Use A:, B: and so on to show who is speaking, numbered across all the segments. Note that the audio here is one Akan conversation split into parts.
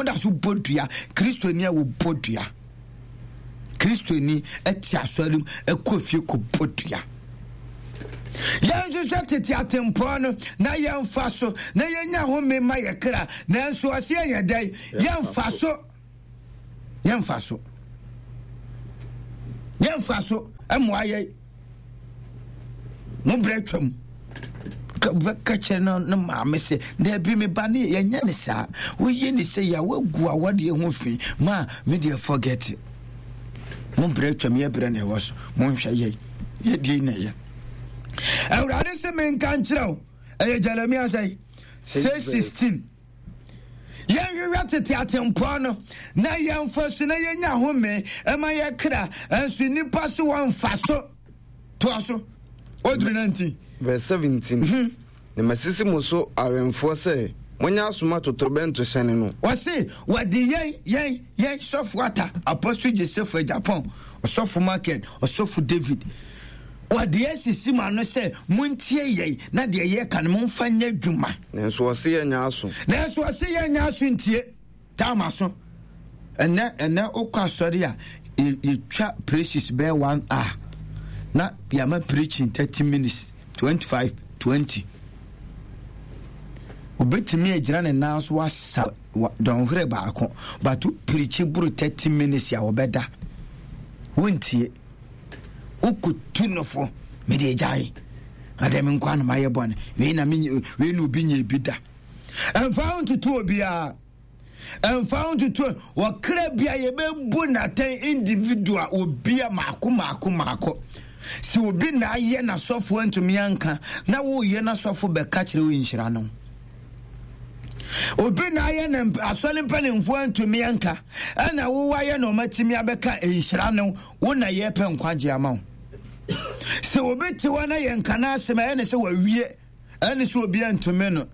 A: Woda so bɔ dua. Kristoni a wɔbɔ dua. Kristoni te asɔre mu kɔ fie kɔbɔ dua. Yɛnhwehwɛ tete atempɔn no na yɛmfa so na yɛnya home ma yɛ kra. Nanso ɔse yɛnyɛ dɛn? Yɛmfa so. Yɛmfa so. Yɛmfa so mmoa yɛn. Mo berɛ twam. Bɛka kyerɛ no ne maame sɛ, daabi me ba ne yɛnyɛ ne saa. Woyi ne sɛ yɛ woagu awadeɛ ho fi ma me deɛ forget. Mo berɛ twam yɛ berɛ na ɛwɔ so. Monhwɛ yɛn. Yɛdie na ɛyɛ. Awurade se menka nkyerɛ wo. Ɛyɛ Jeremia sɛ 6:16. Yɛnhwehwɛ tete atempɔn no na yɛmfa so na yɛnya home ma yɛ kra, nso nnipa se wɔmfa so. Toa so. Oduru 19.
B: Verse 17. Mhm. Na masisi mo so awɛmfoɔ sɛ monyɛ asoma totorobɛnto hyɛne no.
A: Wɔse wɔde yɛn yɛn yɛn sɔfo ata Apostle Joseph Agyapong, ɔsɔfo Michael, ɔsɔfo David. Wɔde asisi mo ano sɛ montie yɛn na deɛ yɛka no momfa nyɛ adwuma.
B: Nanso ɔse yɛnyɛ aso.
A: Nanso ɔse yɛnyɛ aso ntie. Tam aso. Ɛnɛ ɛnɛ wokɔ asɔre a yɛtwa praises bɛyɛ one hour na yɛama preaching 30 minutes 25 20. Obetumi agyina ne nan so asa dɔnhwere baako but wo preachi boro 30 minutes a wɔbɛda. Wontie. Wokotu no fo, mede agyae. Adɛn me nkoa na mayɛ bɔne? Wei na me wei na obi nyɛ bi da. Ɛmfa ho ntoto obiara. Ɛmfa ho ntoto wɔkra bia yɛbɛbu n'atɛn individual obia maako maako maako. Sɛ obi na ayɛ n'asɔfo antumi anka na woyɛ n'asɔfo bɛka kyerɛ wo nhyira no. Obi na ayɛ ne asɔre mpanimfoɔ antumi anka ɛna wo ayɛ na ɔmatumi abɛka nhyira no wo na yɛpɛ nkwagye ama wo. Sɛ obi te hɔ na yɛnka n'asɛm ɛyɛ ne sɛ wawie ɛne sɛ obi antumi no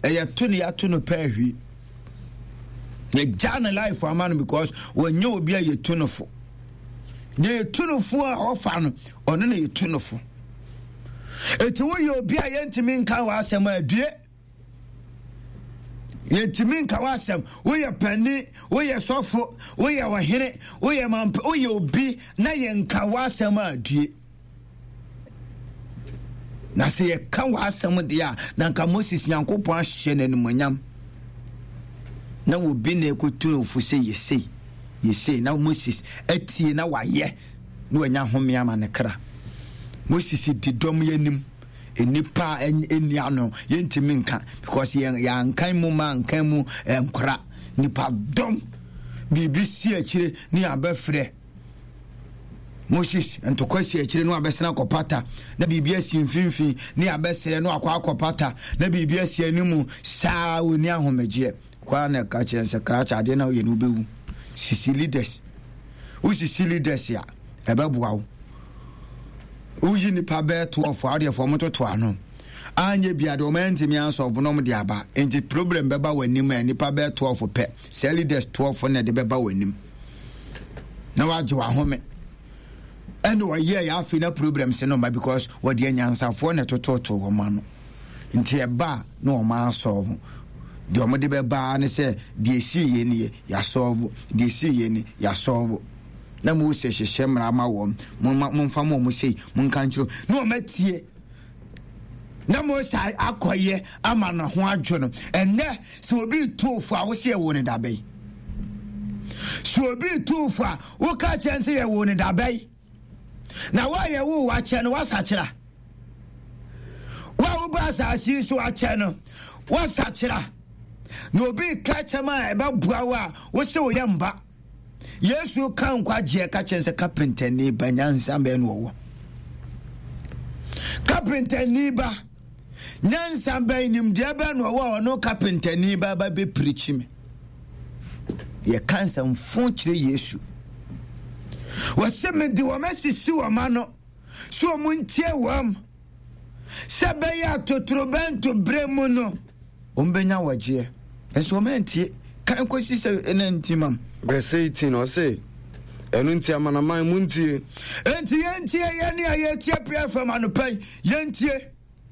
A: ɛyɛ to ne yɛato no pɛ ahwi. Yɛgya ne life ama no because wɔnyɛ obi a yɛtu no fo. Deɛ yɛtu no fo a ɔfa no ɔno na yɛtu no fo. Eti woyɛ obi a yɛntumi nka w'asɛm a due. Yɛntumi nka w'asɛm. Woyɛ panin, woyɛ sɔfo, woyɛ ɔhene, woyɛ mamp, woyɛ obi na yɛnka w'asɛm a due. Na sɛ yɛka w'asɛm deɛ a, na nka Moses Nyankopɔn ahyɛ no animuonyam. Na obi na ɛkɔtu no fo sɛ yɛsei, yɛsei, na Moses atie na wayɛ. na wanya home ama ne kra. Moses di dɔm yi anim, nnipa a ɛnni ano, yɛntumi nka because yɛn yɛankan mu ma ankan mu nkora. Nipa dɔm biribi si akyire ne yɛabɛfrɛ Moses ntɔkwa si akyire no abɛsena akɔpata na biribi asi mfimfini ne abɛsrɛ no akɔ akɔpata na biribi asi anim saa ɔni ahomegyeɛ kwaa na ɛka kyerɛ sɛ krakye adeɛ na woyɛ no wobɛwu sisi leaders Wosisi leaders a, ɛbɛboa wo. Woyi nipa bɛyɛ 12 a, wodeɛ fɔ wɔtoto ano. Anyɛ bia deɛ wɔn antumi ansɔlvo na wɔn de aba. Nti problem bɛba w'anim a nipa bɛyɛ 12 pɛ. Sɛ leaders 12 na ɛde bɛba w'anim. Na wagye w'ahome. Ɛna ɔyɛ yɛ afei na problems no ma because wɔde anyansafoɔ na ɛtototo wɔn ano. Nti ɛba a na wɔn asɔlvo. Deɛ wɔn de bɛba ne sɛ deɛ esii yɛ nie yasɔlvo, deɛ esii yɛ ni yasɔlvo. Na Mose hyehyɛ mmara ma wɔn, momma momfa mo wɔn sei, monka nkyerɛ na wɔn atie. Na Mose akɔyɛ ama ne ho adwo no. Ɛnɛ sɛ obi tu fo a wosɛ yɛwɔ ne dabɛn. Sɛ obi tu fo a woka kyɛn sɛ yɛwɔ ne dabɛn. Na wo a yɛwoo wakyɛ no woasakyera. Wo a woba asase yi so akyɛ no woasakyera. Na obi ka kyɛm a ɛbɛboa wo a wose woyɛ mba. Yesu ka nkwagyeɛ ka kyɛn sɛ kapentani ba nyansa bɛn na ɔwɔ. Kapentani ba nyansa bɛn nimdeɛ bɛn na ɔwɔ a ɔno kapentani ba ba bɛpirikyi me. Yɛka nsɛmfo kyerɛ Yesu. Wɔse mede wɔn asisi wɔn ano sɛ wɔn ntie wɔn sɛ bɛyɛ a totorobɛnto berɛ mu no wɔn bɛnya wɔgyeɛ. Nso wɔn antie. Kan kɔsi sɛ ɛna nti mam.
B: Verse 18 ɔse ɛno nti amanaman montie.
A: Enti yɛntie yɛne a yɛtie PFM anɔpa yi yɛntie.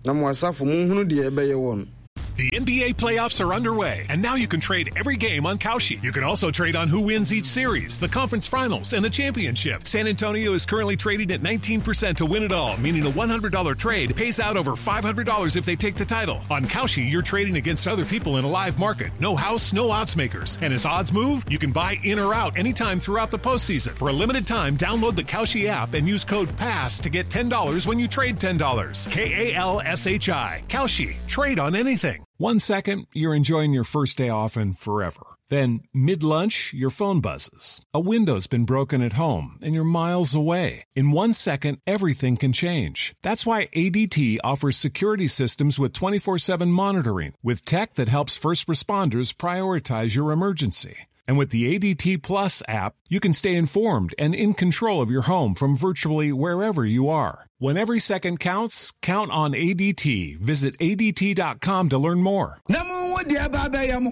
B: Na mo asafo monhunu deɛ ɛbɛyɛ wɔn.
C: The NBA playoffs are underway, and now you can trade every game on Kalshi. You can also trade on who wins each series, the conference finals, and the championship. San Antonio is currently trading at 19% to win it all, meaning a $100 trade pays out over $500 if they take the title. On Kalshi, you're trading against other people in a live market. No house, no odds makers. And as odds move, you can buy in or out anytime throughout the postseason. For a limited time, download the Kalshi app and use code PASS to get $10 when you trade $10. K A L S H I. Kalshi. Trade on anything. One second, you're enjoying your first day off and forever. Then, mid lunch, your phone buzzes. A window's been broken at home and you're miles away. In one second, everything can change. That's why ADT offers security systems with 24 7 monitoring, with tech that helps first responders prioritize your emergency. And with the ADT Plus app, you can stay informed and in control of your home from virtually wherever you are. When every second counts, count on ADT. Visit ADT.com to learn more.
A: Na monhu deɛ ɛba abɛyɛ mo.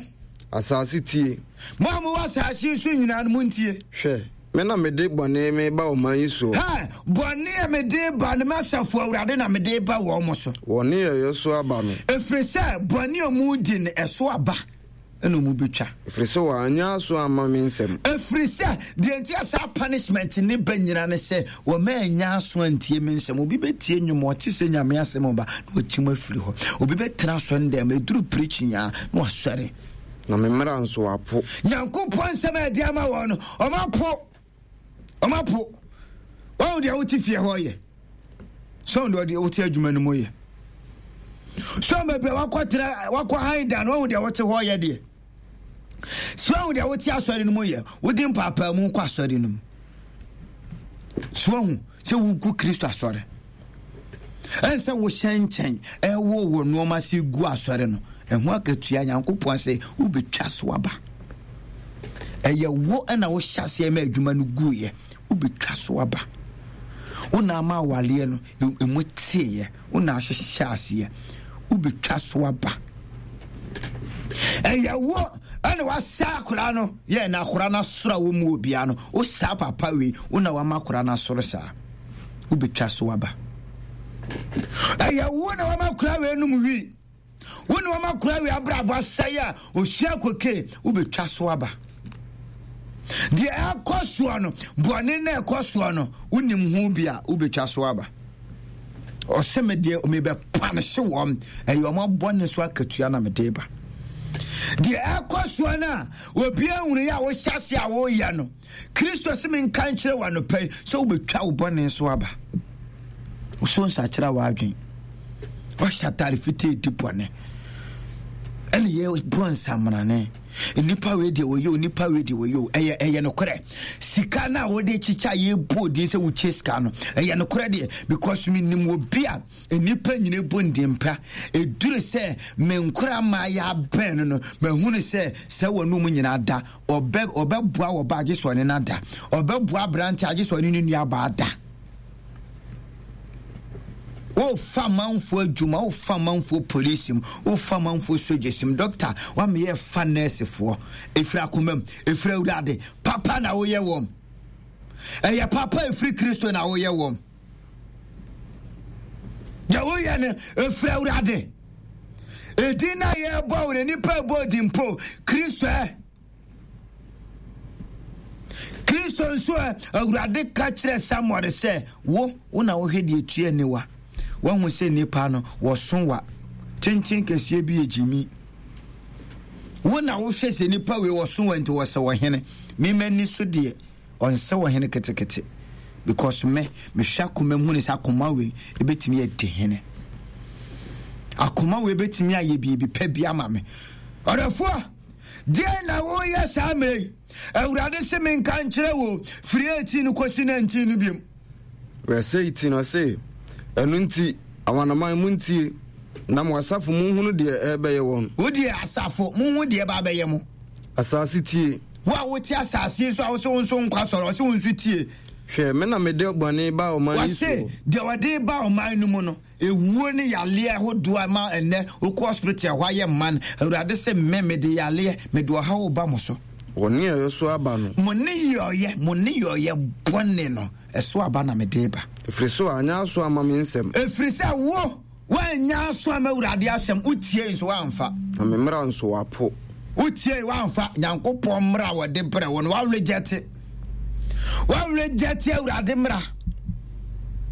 B: Asase tie.
A: Mo a mowɔ asase yi so nyinaa no, montie.
B: Hwɛ, me na mede bɔne mereba ɔman yi soɔ.
A: Hɛ, bɔne a mede reba no, m'asafo Awurade na mede reba wɔn so.
B: Wɔn nneyɛeɛ so aba no.
A: Ɛfiri sɛ bɔne a wɔredi no, ɛso aba. Ɛna ɔmu bɛtwa.
B: Ɛfiri sɛ wɔanyɛ aso amma me nsɛm.
A: Ɛfiri sɛ, deɛ nti a saa punishment ne ba nyina ne sɛ, wɔma anya aso antie me nsɛm. Obi bɛtie nnwom, ɔte sɛ Nyame asɛm ɔba, na wakyim afiri hɔ. Obi bɛtena asɔre dɛm, ɛduru preaching a, na wasɔre.
B: Na me mmara nso wɔapo.
A: Nyankopɔn nsɛm a ɛde ama wɔn no, wɔapo. Wɔapo. Wɔn deɛ wote fie hɔ yɛ. Sɛ wɔn deɛ wote adwuma no mu yɛ. Sɛ wɔn baabi a wakɔtena wakɔ han dan wɔn deɛ wote hɔ yɛ deɛ. Sɛ wɔn deɛ wote asɔre no mu yɛ. Wodi mpaapaamu kɔ asɔre no mu. So wɔn sɛ wogu Kristo asɔre. Ɛnsɛ wohyɛ nkyɛn ɛwɔ wɔ nneɛma se gu asɔre no. Ɛho akatua Nyankopɔn sɛ wobɛtwa so aba. Ɛyɛ wo na wohyɛ aseɛ ma adwuma no guiɛ wobɛtwa so aba. Wo na ama awaleɛ no ɛmu teeɛ wo na ahyehyɛ aseɛ wobɛtwa so aba. Ɛyɛ wo ɛna wasa akora no yɛ na akora no asoro a wɔmu obiara no wosaa papa wei wo na wama akora no asoro saa wobɛtwa so aba. Ɛyɛ wo na wama akora wei nom wii Wo ne wɔn akora wei abrabɔ asɛe a osua koke wobɛtwa so aba. Deɛ ɛkɔ soɔ no, bɔne na ɛkɔ soɔ no, wonim ho bi a wobɛtwa so aba. Ɔsɛ me deɛ mebɛpanehye wɔn, ɛyɛ wɔn abɔne so akatua na mede ba. Deɛ ɛkɔ soɔ no a obi ahunu yɛ a wohyɛ ase a woyɛ no, Kristo se menka nkyerɛ wo anɔpa yi sɛ wobɛtwa wo bɔne so aba. Wosɔ nsakyera w'adwen. Wahyɛ atare fitaa di bɔne. Ɛne yɛ bɔ nsamrane. Nnipa wei deɛ wɔyɛ o, nnipa wei deɛ wɔyɛ o. Ɛyɛ ɛyɛ nokorɛ. Sika no a wɔde kyekyɛ a yɛbɔ odin sɛ wokyɛ sika no, ɛyɛ nokorɛ deɛ because menim obi a nnipa nyina bɔ ndin pa. Ɛduru sɛ me nkora maa yɛ abɛn no no, mahunu sɛ sɛ wɔn mu nyinaa da Ɔbɛ, ɔbɛboa ɔbaa gye sɛ ɔne no ada. Ɔbɛboa aberante agye sɛ ɔne ne nuabaa da. Wofa amanfoɔ adwuma, wofa amanfoɔ polisi mu, wofa amanfoɔ sogyesi mu. Dɔkta, wameyɛ fa nɛɛsefoɔ. Ɛfiri akoma mu, ɛfiri Awurade. Papa na woyɛ wɔn. Ɛyɛ papa ɛfiri Kristo na woyɛ wɔn. Deɛ woyɛ no ɛfiri Awurade. Edin na yɛbɔ wo no nipa ɛbɔ din mpo Kristo ɛ. Kristo nso ɛ Awurade ka kyerɛ Samuel sɛ wo wo na wohwɛ deɛ tua aniwa. Wahu sɛ nipa no wɔso wa tenten kɛseɛ bi yɛ gyimi. Wo na wohwɛ sɛ nipa wei wɔso wa nti wɔsɛ ɔhene. Mema ni so deɛ Ɔnsɛ ɔhene ketekete because me mehwɛ akoma mu hunu sɛ akoma wei ebetumi adi hene. Akoma wei ebetumi ayɛ biribi pɛ bi ama me. Ɔdɔfoɔ, deɛ na woyɛ saa mmerɛ yi? Awurade se menka nkyerɛ wo firi 18 no kɔsi 19 no biom.
B: Verse 18 ɔse, Ɛno nti, amanaman montie, na mo asafo monhunu deɛ ɛrebɛyɛ wɔn.
A: Wo deɛ asafo, monhu deɛ ɛba abɛyɛ mo.
B: Asase tie.
A: Wo a wote asase yi so a wose wo nso nkɔ asɔre, ɔse wo nso tie.
B: Hwɛ, me na mede bɔne ba ɔman yi soɔ.
A: Ɔse deɛ ɔde ba ɔman no mu no, ewuo ne yaleɛ ahodoɔ a ɛma ɛnnɛ wokɔ hospital ɛhɔ ayɛ man. Awurade se me, mede yaleɛ, mede ɔhaw reba mo so.
B: Wɔn nneyɔeɛ so aba no.
A: Mo nneyɔeɛ, mo nneyɔeɛ bɔne no, ɛso aba na mede reba.
B: Ɛfiri sɛ wɔanyɛ aso amma me nsɛm.
A: Ɛfiri sɛ wo. Woannya aso amma Awurade asɛm, wotiei nso woamfa.
B: Na me mmara nso woapo.
A: Wotiei woamfa. Nyankopɔn mmara a wɔde brɛ wo no, woarejɛte. Woarejɛte Awurade mmara.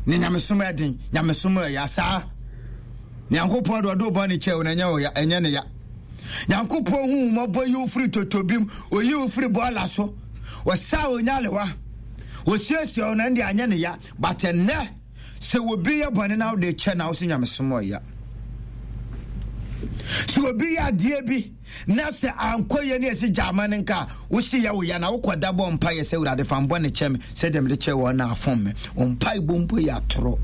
A: Ne nyamesom ɛden, nyamesom ɛya saa. Nyankopɔn de ɔde wo bɔne kyɛ wo no, ɛnyɛ wo ya, ɛnyɛ ne ya. Nyankopɔn hu wo mmɔbɔ yi wo firi totobim, oyi wo firi bɔɔla so. Ɔsaa wo nyalewa. Osiesie wo no, ɛnde anyɛ ne ya. But ɛnnɛ, Sɛ obi yɛ bɔne na wode kyɛ na wo sɛ nyamesom ɔya. Sɛ obi yɛ adeɛ bi na sɛ ankɔ yɛ ne ɛsɛ gya ama no nka a, wo se yɛ wo ya na wokɔda bɔ mpa yɛ sɛ Awurade fa mbɔne kyɛ me sɛdeɛ mede kyɛ wɔn na afom me. Wo mpaebɔ mpo yɛ atorɔ.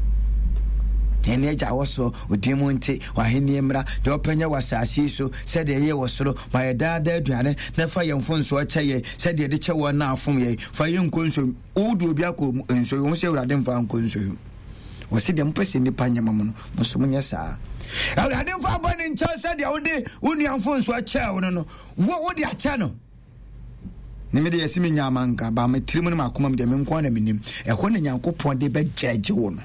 A: Yɛn agya wɔ soro, odin mu nte, w'ahenni mmra, deɛ ɔpɛ nyɛ wɔ asase yi so sɛdeɛ ɛyɛ wɔ soro. Ma yɛ daa daa aduane na fa yɛn mfomsoɔ kyɛ yɛn sɛdeɛ yɛde kyɛ wɔn na afom yɛn. Fa yɛn nkɔ nsuo Wode obi akɔ nsuo ho sɛ Awurade mfa nkɔ nsuo ho. Wɔsi deɛ mopɛ sɛ nnipa nyɛ ma mo no, mo nso monyɛ saa. Awurade mfa bɔne nkyɛ sɛ deɛ wode wo nua mfomsoɔ kyɛɛ wo no no, wo wode akyɛ no. Ne me deɛ yɛsi me nya amanka, ba me tirim ne m'akoma mu deɛ me nko na menim. Ɛhɔ na Nyankopɔn de bɛgyɛgye wo no.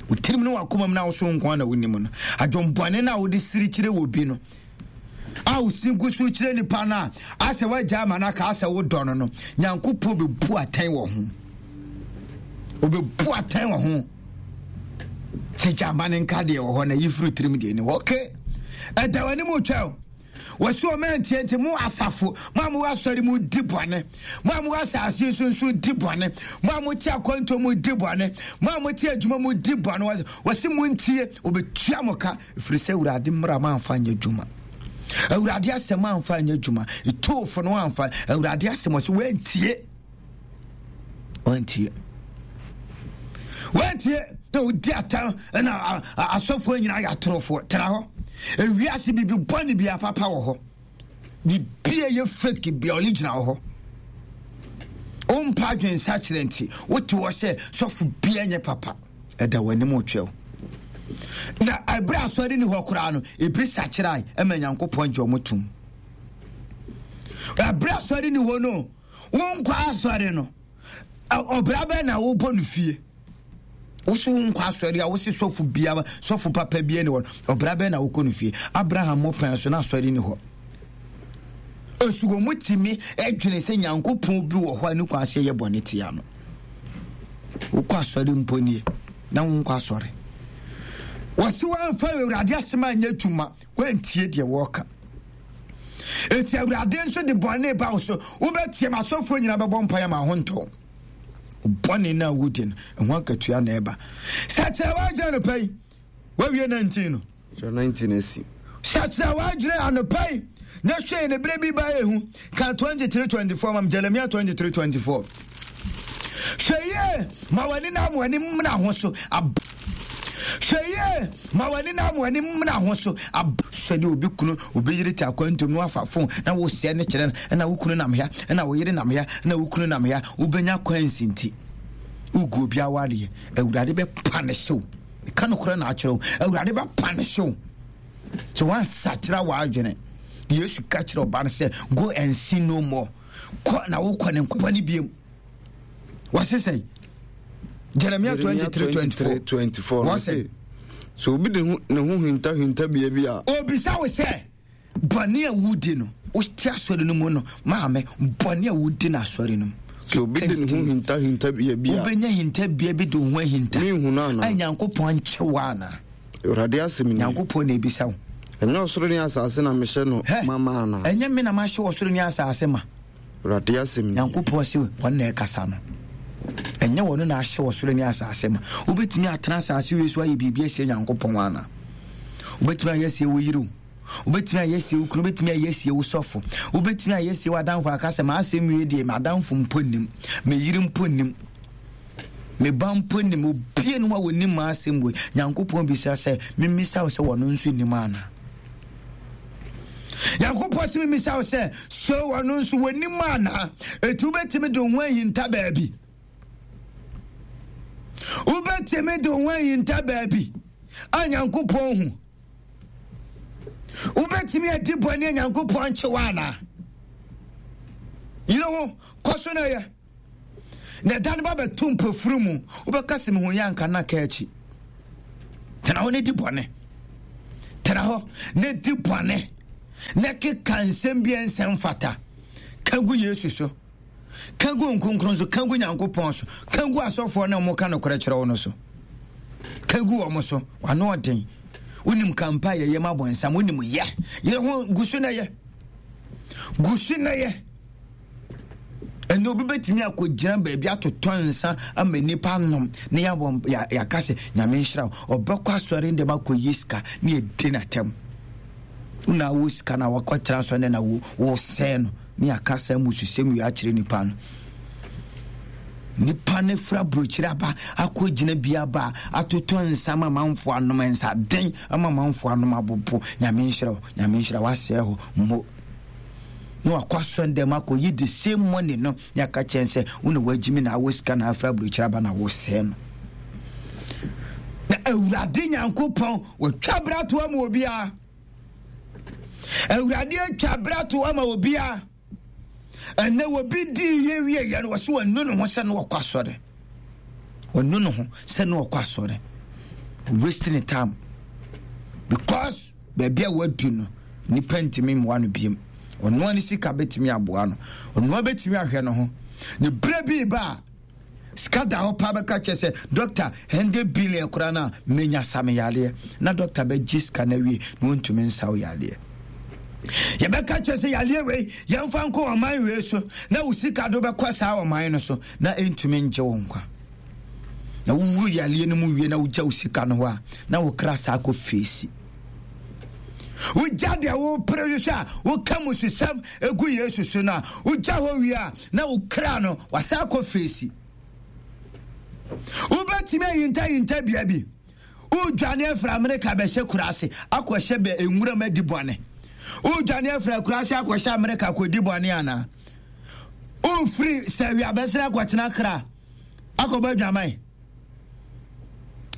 A: Wo tirim ne w'akoma mu na wo so nko na wonim no. Adwombɔne no a wode siri kyerɛ wɔ bi no, a wosi gu so kyerɛ nipa no a asɛ woagya ama no aka asɛ wodɔ no no nyankopɔn bɛbu atɛn wɔ ho obɛbu atɛn wɔ ho sɛ gyama no nka deɛ wɔ hɔ na yi firi tirim deɛ ni hɔ ok ɛda w'anim twɛw wɔsi wɔn antie nti mo asafo mo a mo asɔre mu di bɔne mo a mo asase so nso di bɔne mo a mo te akwantuo mu di bɔne mo a mo te adwuma mu di bɔne wɔsi mo ntie obetua mo ka Ɛfiri sɛ Awurade mmara moamfa anyɛ adwuma. Awurade asɛm amfa anyɛ adwuma. Etoofo no amfa. Awurade asɛm ɔsɛ wantie. Wantie. Wantie na odi atam na asɔfoɔ nyinaa yɛ atorofoɔ. Tena hɔ. Ewiase biribi bɔne bi apapa wɔ hɔ. Biribi a ɛyɛ fake bi a ɔle gyina wɔ hɔ. Wompa adwensakyerɛ nti wote hɔ sɛ sɔfo bia nyɛ papa. ɛda w'anim retwɛw na ɛberɛ asɔre ni hɔ koraa no ebi sakyerae ɛma nyankopɔn gye ɔmo tom ɛberɛ asɔre ni hɔ no wonkɔ asɔre no ɔbra bɛn na wobɔ no fie woso wonkɔ asɔre a wose sɔfo biara sɔfo papa bia ni hɔ ɔbra bɛn na wokɔ no fie abraham mo pɛn so na asɔre ni hɔ nso wɔn mu tumi dwene sɛ nyankopɔn bi wɔ hɔ a ne kwan sɛ yɛ bɔne tia no wokɔ asɔre mpo nie na wonkɔ asɔre wɔse woamfa awurade asɛm anyɛ adwuma woantie deɛ wɔreka enti awurade nso de bɔne ba wo so wobɛtie ma asɔfoɔ nyinaa bɛbɔ mpaeɛ ma ho ntɔ bɔne no a wodi no ɛho akatua na ɛba sɛ kyerɛ woagyina no pɛ yi Woawie 19 no.
B: Kyerɛ 19 asi.
A: Sakyera w'adwene anɔpa yi na hwɛ ne berɛ bi ba ehu. Ka 23 24 mam Jeremia 23 24. Hwɛ yie ma w'ani na w'ani mmena ho so. Ab Hwɛ yie ma w'ani na w'ani mmena ho so. Ab sɛdeɛ obi kunu obi yere te akwantum na wafa fon na wosɛe no kyerɛ no ɛna wo kunu nam ha ɛna wo yere nam ha ɛna wo kunu nam ha wobɛnya kwansi nti wogu obi awareɛ awurade bɛpa ne hyew ka nokorɛ na akyerɛ wo awurade bɛpanishe wo sɛ woansakyera w'adwene yesu ka kyerɛ ɔba no sɛ go and sin no more kɔ na wokɔ ne nkɔbɔ ne biam wɔse sɛn jeremia 23 24 wɔse
B: sɛ obi de ne ho hinta hintabea bi a
A: obisa wo sɛ Bɔne a wodi no, wote asɔre no mu no, maame, bɔne a wodi no asɔre no mu.
B: Sɛ obi de ne ho hinta hintabea bi a.
A: Wobɛnya hintabea bi de wo ho ahinta.
B: Menhu no anaa?
A: A Nyankopɔn nkyɛ wo anaa?
B: Awurade asɛm ni.
A: Nyankopɔn na ebisa wo.
B: Ɛnyɛ ɔsoro ne asase na mehyɛ no ma ma anaa?
A: Ɛnyɛ me na mahyɛ ɔsoro ne asase ma.
B: Awurade asɛm ni.
A: Nyankopɔn se wɔn na ɛkasa no. Ɛnyɛ wɔn na ahyɛ ɔsoro ne asase ma. Wobɛtumi atena asase wei so ayɛ biribi asie Nyankopɔn anaa? Wobɛtumi ayɛ asie wo yere o. Wobɛtumi ayɛ asie wo kunu, wobɛtumi ayɛ asie wo sɔfo, wobɛtumi ayɛ asie w'adamfo aka sɛ m'asɛm wie deɛ m'adamfo mpo nnim, me yere mpo nnim, me ba mpo nnim, obie no a wɔnim m'asɛm wei. Nyankopɔn bisa sɛ, memmisa wo sɛ wɔno nso nnim anaa? Nyankopɔn sɛ memmisa wo sɛ, so wɔno nso wɔnim anaa? Enti wobɛtumi de wo ho ahinta baabi. Wobɛtumi de wo ho ahinta baabi a Nyankopɔn hu. Wobɛtumi adi bɔne a Nyankopɔn nkye wo anaa? Yere ho, kɔ so na yɛ. Na ɛda no ba bɛto mpofiri mu, wobɛka sɛ mehu yɛ anka na ka akyi. Tena hɔ ne di bɔne. Tena hɔ na di bɔne na keka nsɛm bi a ɛnsɛ mfata. Ka gu Yesu so. Ka gu nkonkron so. Ka gu Nyankopɔn so. Ka gu asɔfoɔ na wɔka nokorɛ kyerɛ wo no so. Ka gu wɔn so. Wano ɔden. Wonim kampa a yɛyɛ ma bɔnsam. Wonim yɛ. Yɛ ho gu so na yɛ. Gu so na yɛ. Ɛnna obi bɛtumi akɔgyina baabi atotɔ nsa ama nnipa anom na yɛabɔ yɛaka sɛ nyame nhyira wo. Ɔbɛkɔ asɔre ndɛm akɔyi sika na yɛdi n'atɛm. Wona wo sika na wakɔtena asɔre ndɛ na wo wosɛe no ne yɛaka saa mmususɛm wei akyerɛ nipa no. Nipa no fira burokyiri aba akɔgyina bi aba atotɔ nsa ama amanfoɔ anom nsa den ama amanfoɔ anom abobo. Nyame nhyira wo, nyame nhyira wo, asɛe hɔ mmo. na wakɔ asɔre dɛm akɔyi the same money no ne aka kyɛn sɛ wo na wagyimi na awɔ sika na afra aburokyerɛ aba na wosɛe no. Na Awurade Nyankopɔn wɔtwa bra to ama obiara. Awurade atwa bra to ama obiara. Ɛnɛ obi dii yɛ wie yɛ no wɔsɛ wɔnu ne ho sɛ no wɔkɔ asɔre. Wɔnu ne ho sɛ no wɔkɔ asɔre. Wasting time because Baabi a wadu no, nnipa ntumi mmoa no biom. Ɔnoa ne sika bɛtumi aboa no. Ɔnoa bɛtumi ahwɛ ne ho. Ne berɛ bi reba a, sika da hɔ paa bɛka kyerɛ sɛ, dɔkta, 100 billion koraa no a, menya sa me yareɛ. Na dɔkta bɛgye sika no awie na ɔntumi nsa wo yareɛ. Yɛbɛka kyerɛ sɛ yareɛ wei, yɛmfa nkɔ ɔman wei so, na wo sika do bɛkɔ saa ɔman no so, na ɛntumi ngye wo nkwa. Na wowu yareɛ no mu wie na wogya wo sika no hɔ a, na wo kra saa kɔ feesi. Wogya deɛ wopere hwehwɛ a woka mususɛm egu Yesu so no a, wogya hɔ wie a, na wo kra no wasa akɔ feesi. Wobɛtumi ahintahinta bea bi. Wodwane afiri Amerika bɛhyɛ kuraase akɔhyɛ bɛ nwuram adi bɔne. Wodwane afiri akuraase akɔhyɛ Amerika akɔdi bɔne anaa? Wofiri sɛ wiabɛsrɛ akɔtena kra akɔbɔ adwaman.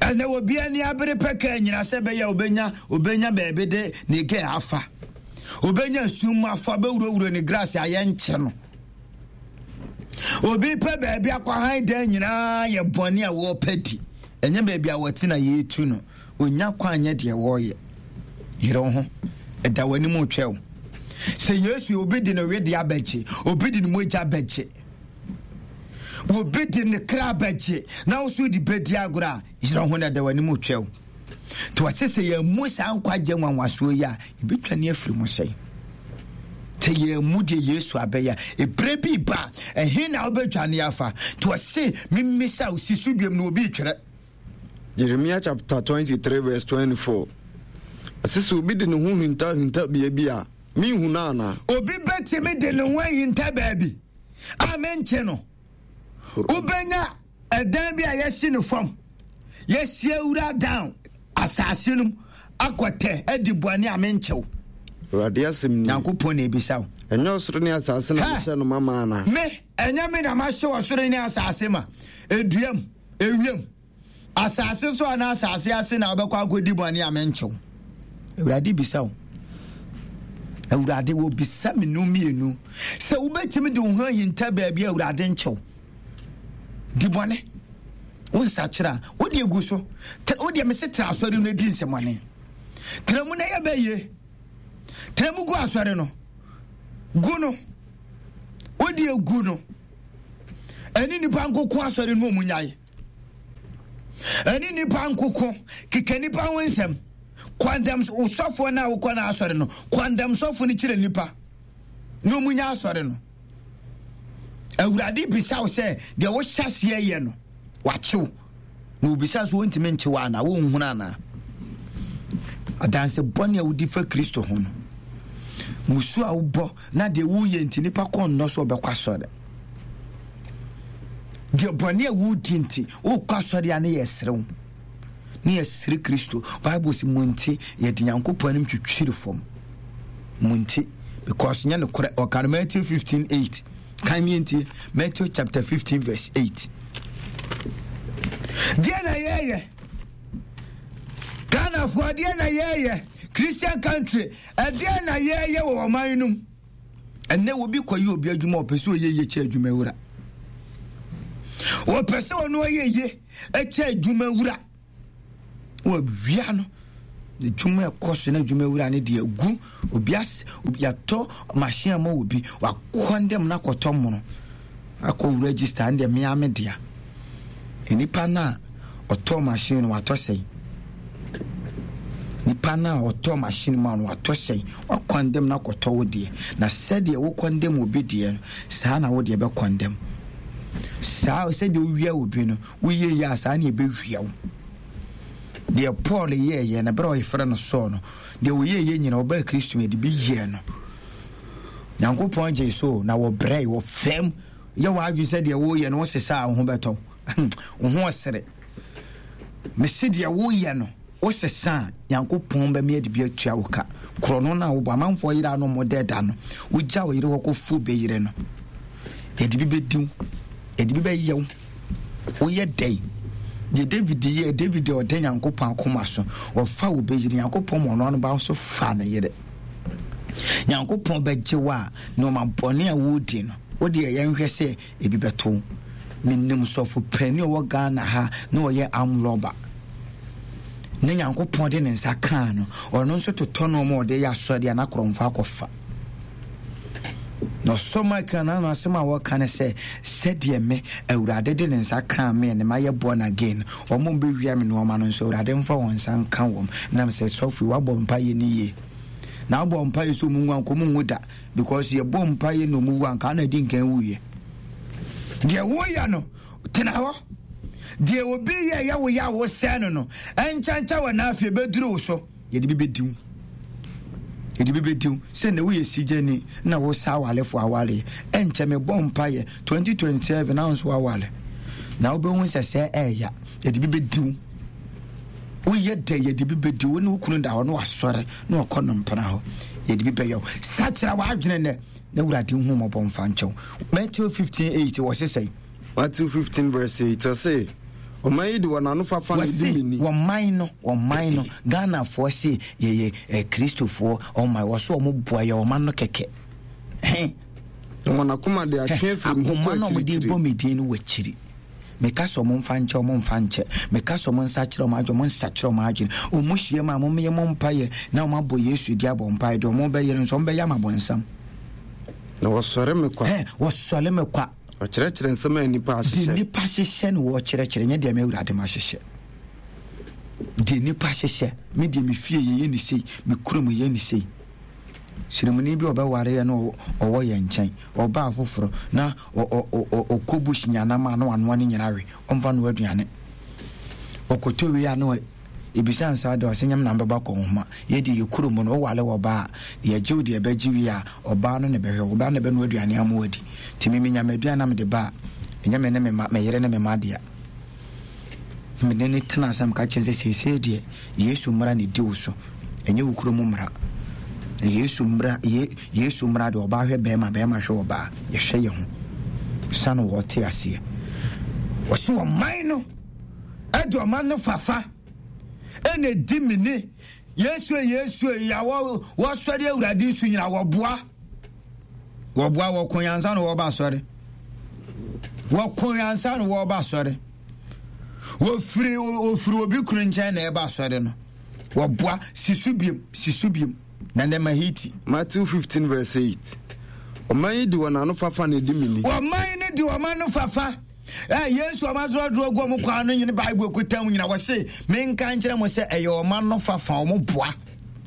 A: Ɛnɛ obi ani abere pɛ kaa nyina sɛ bɛyɛ obenya obenya baabi de ne gɛ afa. Obenya sum mu afa bɛwurawura ne grass ayɛ nkyɛ no. Obi pɛ baabi akɔhan dan nyinaa yɛ bɔne a wɔpɛ di. Ɛnyɛ baabi a wɔte na yɛtu no. Onya kwan nyɛ deɛ wɔreyɛ. Yere wo ho. Ɛda w'anim retwɛ wo. Sɛ Yesu obi de ne wedeɛ abɛgye, obi de ne mogya bɛgye. Obi de ne kra bɛgye na wo so de bɛdi agorɔ a, yerɛ ho na ɛda w'anim retwɛ wo. Nti wɔse sɛ yɛmmu saa nkwagye nwanwasoɔ yi a, yɛbɛtwane afiri mu sɛn? Sɛ yɛmmu deɛ Yesu abɛyɛ a, ɛberɛ bi ba a, ɛhe na wobɛdwane afa? Nti wɔse memmisa wo si so biom na obi retwerɛ.
B: Jeremia chapter 23 verse 24. Ɛsɛ sɛ obi de ne ho hinta hinta bea bi a, menhu no anaa?
A: Obi bɛtumi de ne ho ahinta baabi a menkye no. Wobɛnya ɛdan bi a yɛasi no fam, yɛasi awura down asase no mu akɔtɛ adi bɔne a menkye wo.
B: Awurade asɛm ni.
A: Nyankopɔn na ebisa wo.
B: Ɛnyɛ ɔsoro ne asase na mehyɛ no ma ma anaa?
A: Me, ɛnyɛ me na mahyɛ ɔsoro ne asase ma, eduam, ewiem. Asase so anaa asase ase na wobɛkɔ akɔdi bɔne a menkye wo? Awurade bisa wo. Awurade wɔbisa me no mmienu sɛ wobɛtumi de wo ho ahinta baabi a Awurade nkye wo. Di bɔne. Wo nsakyera a, wode gu so. Wodeɛ mese tra asɔre no di nsɛmɔne. Tra mu na yɛ bɛyie. Tra mu gu asɔre no. Gu no. Wode gu no. Ɛne nipa nkoko asɔre no ɔmu nyae. Ɛne nipa nkoko keka nipa ho nsɛm. Kwandam sɔfoɔ no a wokɔ no asɔre no, kwandam sɔfo no kyerɛ nipa na ɔmu nya asɔre no. Awurade bisa wo sɛ deɛ wohyɛ aseɛ yɛ no wakyew na obisa so wontumi nkyew anaa wonhunu anaa adanse bɔne a wodi fa Kristo ho no musu a wobɔ na deɛ woyɛ nti nipa kɔ nnɔ so ɔbɛkɔ asɔre deɛ bɔne a wodi nti wokɔ asɔre a ne yɛ serew ne yɛsere Kristo. Bible sɛ mo nti yɛde Nyankopɔn anim twitwiri fam. Mo nti because nyɛ nokorɛ. Ɔka no Matthew 15 8. Kan mi ntie Matthew chapter 15 verse 8. Deɛ na yɛyɛ Ghanafoɔ deɛ na yɛyɛ Christian country ɛdeɛ na yɛyɛ wɔ ɔman no mu. Ɛnnɛ obi kɔyɛ obi adwuma ɔpɛ sɛ ɔyɛ yie kyɛ adwuma wura. Wɔpɛ sɛ ɔno ɔyɛ yie kyɛ adwuma wura. Wɔawia no. Adwuma ɛkɔ so na adwuma wura no deɛ gu obi as obi yɛatɔ machine ama obi wakɔndɛm no akɔtɔ mono akɔ register ɛndeɛ mea me dea. Nipa no a ɔtɔ machine no watɔ sɛn? Nipa no a ɔtɔ machine ma no watɔ sɛn? Wakɔndɛm no akɔtɔ wo deɛ. Na sɛdeɛ wokɔndɛm obi deɛ no, saa na wo deɛ bɛkɔndɛm. Saa sɛdeɛ wowia obi no, woyɛ yie a saa na ɛbɛwia wo. Deɛ Paul yɛɛyɛ no, berɛ a ɔyɛfrɛ no Saul no, deɛ ɔyɛɛyɛ nyina ɔbaa Kristo mu yɛde bi yɛɛ no. Nyankopɔn gyee so na wɔbrɛe, wɔfɛm. Yɛ w'adwene sɛ deɛ woyɛ no wosesa a wo ho bɛtɔ wo ho ɔsere. Mese deɛ woyɛ no wosesa a Nyankopɔn bɛma yɛde bi atua wo ka. Korɔno no a wobɔ amanfoɔ yere a no mo dɛ da no, wogya wo yere hɔ kɔfo bɛyere no, yɛde bi bɛdi wo, yɛde bi bɛyɛ wo. Woyɛ dɛn? Deɛ David yɛɛ, David deɛ ɔda Nyankopɔn akoma so, ɔfa wo bɛyere, Nyankopɔn ma ɔno ano ba nso fa ne yere. Nyankopɔn bɛgye wo a, nneɛma bɔne a wodi no, wo deɛ yɛnhwɛ sɛ ebi bɛto wo. Menim sɔfo panin a ɔwɔ Ghana ha na ɔyɛ arm robber. Ne Nyankopɔn de ne nsa kaa no, ɔno nso totɔ nneɛma a ɔde yɛ asɔre a n'akorɔmfo akɔfa. Na ɔsɔ Michael n'ano asɛm a wɔka ne sɛ, Sɛdeɛ me, Awurade de ne nsa kaa me ne mayɛ born again, wɔn a wɔbɛwia me nnoɔma no nso, Awurade mfa wɔn nsa nka wɔn. Nam sɛ, sɔfo yi, woabɔ mpaeɛ no yie. Na wobɔ mpaeɛ sɛ wɔn nwu anka wɔn nwu da, because yɛbɔ mpaeɛ na wɔn wu anka na adi nkan wuiɛ. Deɛ woyɛ no, tena hɔ. Deɛ obi yɛ yɛ wo yɛ a wosɛe no no, ɛnkyɛnkyɛn wɔ n'afie bɛduru wo so. Yɛde bi bɛdi wo. Yɛde bi bɛdi wo. Sɛ na woyɛ sigyani na wosa awalefo awaleɛ. Ɛnkyɛ mebɔ mpaeɛ 2027 na nso awale. Na wobɛhu sɛ sɛ ɛɛya. Yɛde bi bɛdi wo. Woyɛ dɛ yɛde bi bɛdi wo ne wo kunu da hɔ na wasɔre na wakɔ no mpena hɔ. Yɛde bi bɛyɛ wo. Sakyera w'adwene nnɛ na Awurade hu mmɔbɔ mfa nkyɛ wo. Matthew 15:8 wɔ se sɛn?
B: Matthew 15 verse 8 ɔse ɔman yi de wɔn ano fafa na edi me ni.
A: Wɔn no, wɔn no, Ghanafoɔ se yɛyɛ eh, Kristofoɔ ɔman, wɔ so wɔn boa yɛ ɔman no kɛkɛ. He.
B: Na wɔn akoma de atwe afiri mu
A: kɔ
B: akyirikyiri.
A: Akoma na wɔn de bɔ me din no wɔ akyiri. Meka sɛ wɔn mfa nkyɛ, wɔn mfa nkyɛ. Meka sɛ wɔn nsa kyerɛ wɔn adwene, wɔn nsa kyerɛ wɔn adwene. Wɔn hyia mu a, wɔn yɛ mo mpaeɛ na wɔn abɔ Yesu di abɔ mpaeɛ deɛ wɔn bɛyɛ no nso wɔn bɛyɛ ama bɔnsam.
B: Na wɔsɔre me kwa.
A: Ɛ wɔsɔre me kwa.
B: Ɔkyerɛkyerɛ nsɛm a nnipa ahyehyɛ.
A: Deɛ nnipa ahyehyɛ na wɔkyerɛkyerɛ, nyɛ deɛ me Awurade mahyehyɛ. Deɛ nnipa ahyehyɛ, me deɛ me fie yɛyɛ ne sei, me kurom yɛyɛ ne sei. Sremuni bi ɔbɛwareɛ na ɔwɔ yɛn nkyɛn, ɔbaa foforɔ na ɔkɔ bush nyanam a na wanoa ne nyina we, ɔmfa no aduane. Ɔkɔtɔ wie a na Ebisa nsa de ɔse nyɛ me na mebɛbɔ akɔnhoma. Yɛ deɛ yɛ kuro mu no wo wale ɔbaa a, yɛgye wo deɛ ɛbɛgye wie a, ɔbaa no na ɛbɛhwɛ wo, ɔbaa no na ɛbɛnoa aduane ama wo adi. Nti me menya m'aduane na mede ba a, ɛnyɛ me ne me mma, me yere ne me mma dea. Me ne no tena ase na meka kyerɛ no sɛ seesei deɛ Yesu mmara na ɛdi wo so, ɛnyɛ wo kuro mu mmara. Na Yesu mmara, ye, Yesu mmara deɛ ɔbaa hwɛ bɛrima, bɛrima hwɛ ɔbaa, yɛhwɛ yɛ ho. Sane wɔte aseɛ. Wɔse ɔman no ɛde ɔman no fafa ɛna ɛdi me ni. Yesu e Yesu e ya wɔ wɔsɔre awurade nso nyina wɔboa wɔboa wɔko yansa na wɔba asɔre wɔko yansa na wɔba asɔre wɔfiri wɔfiri obi kunu nkyɛn na ɛba asɔre no wɔboa sisu biem sisu biem na ne ma hiti.
B: Matthew 15 verse 8 Ɔman yi de wɔn ano fafa na ɛdi me ni.
A: Ɔman no de wɔn ano fafa. Ɛ Yesu ɔma dorɔdorɔ gu ɔmo kwan no nyine Bible kuta mu nyina wɔse menka nkyerɛ mo sɛ ɛyɛ ɔma no fafa ɔmo boa.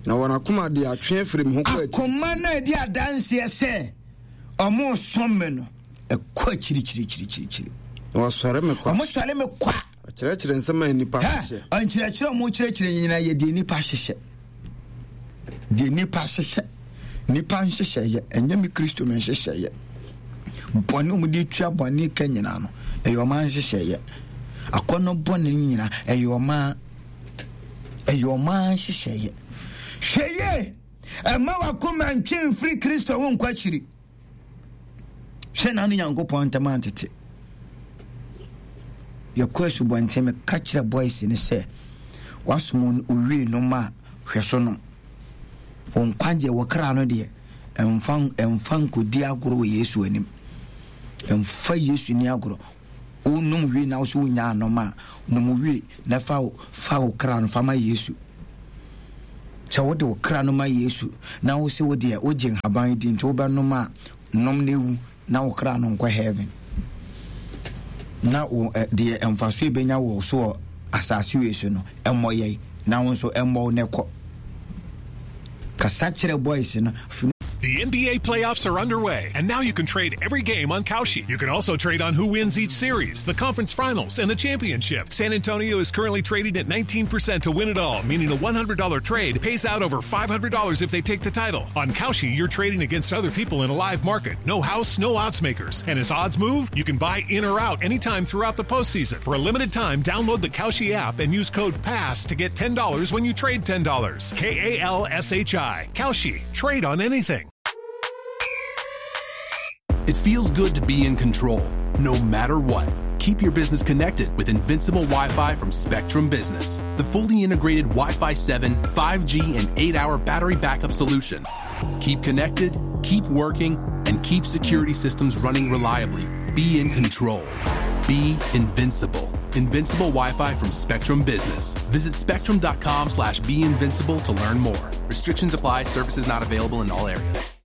B: Na wɔn akoma de atwe afiri me ho kɔ akyirikyiri.
A: Akoma no a ɛdi adanseɛ sɛ ɔmo som me no ɛkɔ akyirikyirikyirikyiri.
B: Na wɔsɔre me kwa.
A: Ɔmo sɔre me kwa.
B: Ɔkyerɛkyerɛ nsɛm a nnipa hyehyɛ.
A: Nkyerɛkyerɛ ɔmo kyerɛkyerɛ nyinaa yɛ deɛ nnipa hyehyɛ. Deɛ nnipa hyehyɛ. Nnipa nhyehyɛeɛ, ɛnyɛ me Kristo me nhyehyɛeɛ. Bɔne ɔmo de tua bɔne ka nyinaa no, ɛyɛ ɔmo nhyehyɛeɛ. Akɔnnɔ bɔne nyinaa, ɛyɛ ɔmo ɛyɛ ɔmo nhyehyɛeɛ. Hwɛ yie, ɛma wakoma ntwe mfiri Kristo ho nkɔ akyiri. Hwɛ na ne Nyankopɔn ntam antete. Yɛkɔ asubɔnten meka kyerɛ boys no sɛ wasom owie nom a hwɛ so nom. Wo nkwagyeɛ, wo kra no deɛ, ɛmfa ɛmfa nkɔdi agorɔ wɔ Yesu anim. Ɛmfa Yesu ni agorɔ. Wonom wie na wo so wonya anom a, nom wie na fa fa wo kra no fa ma Yesu. Sɛ wode wo kra no ma Yesu na wo se wo deɛ wogye nhaban di nti wobɛnom a, nom na ewu na wo kra no nkɔ heaven. Na wo deɛ mfaso ebenya wɔ so wɔ asase wei so no, ɛmmɔ yɛn na wo nso ɛmmɔ wo na ɛkɔ. Kasa kyerɛ boys no.
C: The NBA playoffs are underway, and now you can trade every game on Kalshi. You can also trade on who wins each series, the conference finals, and the championship. San Antonio is currently trading at 19% to win it all, meaning a $100 trade pays out over $500 if they take the title. On Kalshi, you're trading against other people in a live market. No house, no odds makers. And as odds move, you can buy in or out anytime throughout the postseason. For a limited time, download the Kalshi app and use code PASS to get $10 when you trade $10. K A L S H I. Kalshi. Trade on anything.
D: It feels good to be in control, no matter what. Keep your business connected with Invincible Wi Fi from Spectrum Business, the fully integrated Wi Fi 7, 5G, and 8 hour battery backup solution. Keep connected, keep working, and keep security systems running reliably. Be in control. Be invincible. Invincible Wi-Fi from Spectrum Business. Visit spectrum.com slash be invincible to learn more. Restrictions apply. Services not available in all areas.